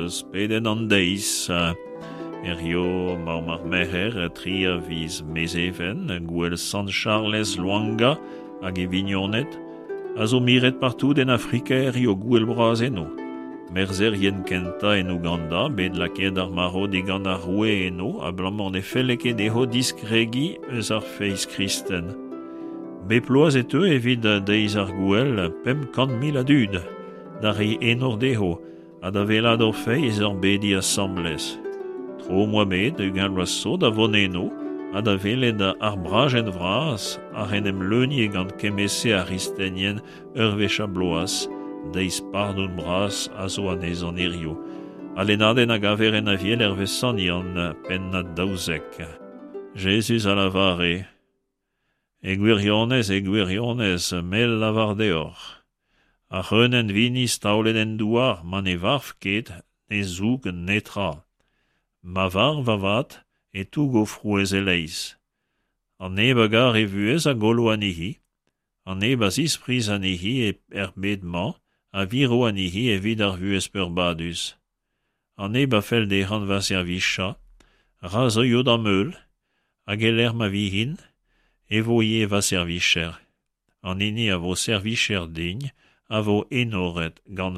eus pedenn an deiz. Hirio 'maomp ar Merc'her, 3 a viz Mezheven, gouel Sant Charlez Lwanga hag e vignoned, a zo miret partout en Afrika hirio gouel bras eno. Merzherien kentañ en Ouganda, bet lakaet d'ar marv digant ar roue eno abalamour ne felle ket dezho diskregiñ eus ar feiz kristen. Bep bloaz e teu evit deiz ar gouel 500,000 a dud da reiñ enor dezho ha da wellaat o feiz ur bediñ asambles. Tro 'm boa bet 20 vloaz zo da vont eno ha da welet ar brajenn vras ac'h en em leunie gant kement-se ar gristenien ur wech ar bloaz, deiz pardon bras a zo anezhañ hiziv. Al lennadenn a gaver en Aviel hervez Sant Yann, pennad 12. Jezuz a lavare E gwirionez, e gwirionez, me lavar deoc'h, ar c'hreunenn vinizh taolet en douar ma ne varv ket ne zoug netra. Ma varv avat e tougo frouezh e-leizh. An neb a gar e vuhez a gollo anezhi, an neb a zispriz anezhi er bed-mañ a viro anezhi evit ar vuhez peurbadus. An neb a fell dezhañ va servijañ, ra zeuio da'm heul, hag e-lec'h ma vin, e vo ivez va servijer. An hini a vo servijer din a vo enoret gant va.